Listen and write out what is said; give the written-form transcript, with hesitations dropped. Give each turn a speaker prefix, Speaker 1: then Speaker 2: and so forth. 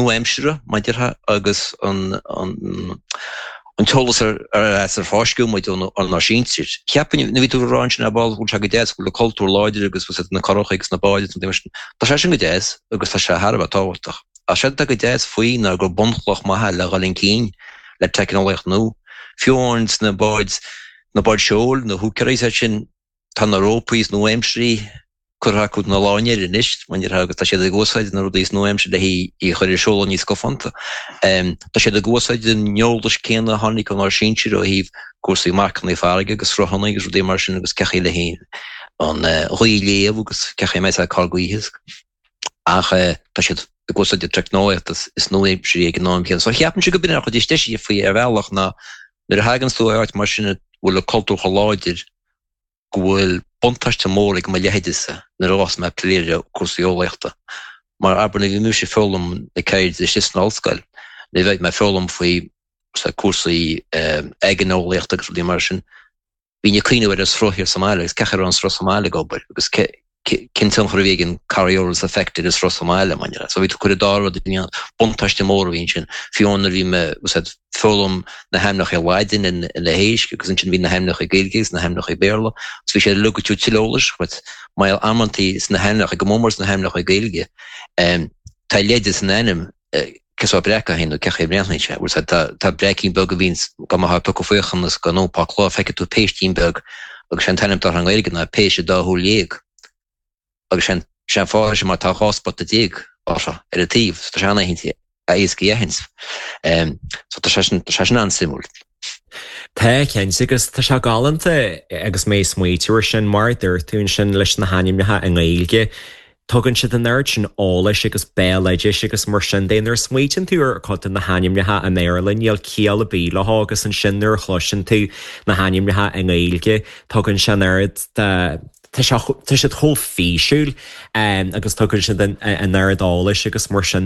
Speaker 1: Nua-aimseartha, mar a déarfá, agus an t-eolas ar as ar fáisceadh muid ónár sinsir. Cheapfainn, nuair a bhí tú ag rá ansin ar ball, go bhfuil sé go deas, go bhfuil an cultúr láidir agus bhfuil na curachaí agus na báid agus na rudaí mar sin. Tá sé sin go deas agus tá sé thar a bheith tábhachtach. Ach séard atá go deas faoi ná gur bunchloch maith é le dhul chun cinn le teicneolaíocht nua. Fiú amháin sna báid, na báid seoil, na húicéirí is iad sin, Tá na rópaí is nua-aimsirí curtha acu na láinnéir anois, mar a déarfá, agus tá siad ag úsáid na rudaí is nua-aimsire le í a chur ar seoladh níos scafánta. Tá siad ag úsáid an eolais céanna a tháinig ónár sinsir ó thaobh cúrsaí marcanna farraige agus sruthanna agus rudaí mar sin agus cén chaoi le an ghaoth a léamh agus cén chaoi a mbeidh sé cur gaoithe. Ach tá siad ag úsáid an teicneolaíocht is nua-aimsirí ag an am céanna. So cheapfainnse go b'in an chuid is deise faoi ar bhealach ná nuair a thaganns tú ar áit mar sin a bhfuil an cultúr chomh láidir go bhfuil buntáiste mór ag mo leithéidese nuair a bheas mé ag plé le cúrsaí eolaíochta. Mar abair nuair a bhí mise ag foghlaim na ceirde istigh san ollscoil, nuair a bheidh mé ag foghlaim faoi cúrsaí aigéaneolaíochta agus rudaí mar sin, bhínn ag cuimhneamh ar an sruth thiar sa mbaile agus cén chaoi a raibh an sruth sa mbaile ag obair agus cén tionchar a bhí ag an Coriolis effect ar an sruth sa mbaile, mar dhea. So bhí tú ag cur an dá rud in ionad. Buntáiste mór a bhí ansin. Fiú amháin nuair a bhí mé ag foghlaim na hainmneacha Laidine ar na héisc agus ansin bhí na hainmneacha Gaeilge agus na hainmneacha Béarla agus bhí sé uilig ag tabhairt tuilleadh eolais dhuit mar amantaí sna hainmneacha, go mór mór sna hainmneacha Gaeilge, tá leide san ainm cén sórt breac é féin nó cén chaoi a mbreathnaíonn sé. Bhfuil tá tá breaicín beag a bhíonns go mbeifeá ag piocadh faochain is go n-iompá cláir feicfidh tú péistín beag agus sé an t-ainm atá air i nGaeilge ná péiste dá shúil dhéag. Agus sé an sé an fáth sin mar tá 12 spota orthu ar an taobh so tá sé an-éasca a aithint. So tá sé sin tá sé sin an-suimiúil.
Speaker 2: Tá, cinnte, agus tá sé galánta agus mé ag smaoitiú ar sin, mar a dúirt tú ansin leis na hainmneacha i nGaeilge, tugann siad an oiread sin eolais agus béaloidis agus mar sin de. Nuair a smaoitíonn tú ar chuid de na hainmneacha i mBéarla, níl ciall ar bith leo agus ansin nuair a chloiseann tú na hainmneacha i nGaeilge, tugann sé an oiread de, tá sé, tá siad chomh físiúil agus tugann siad an oiread eolais agus mar sin.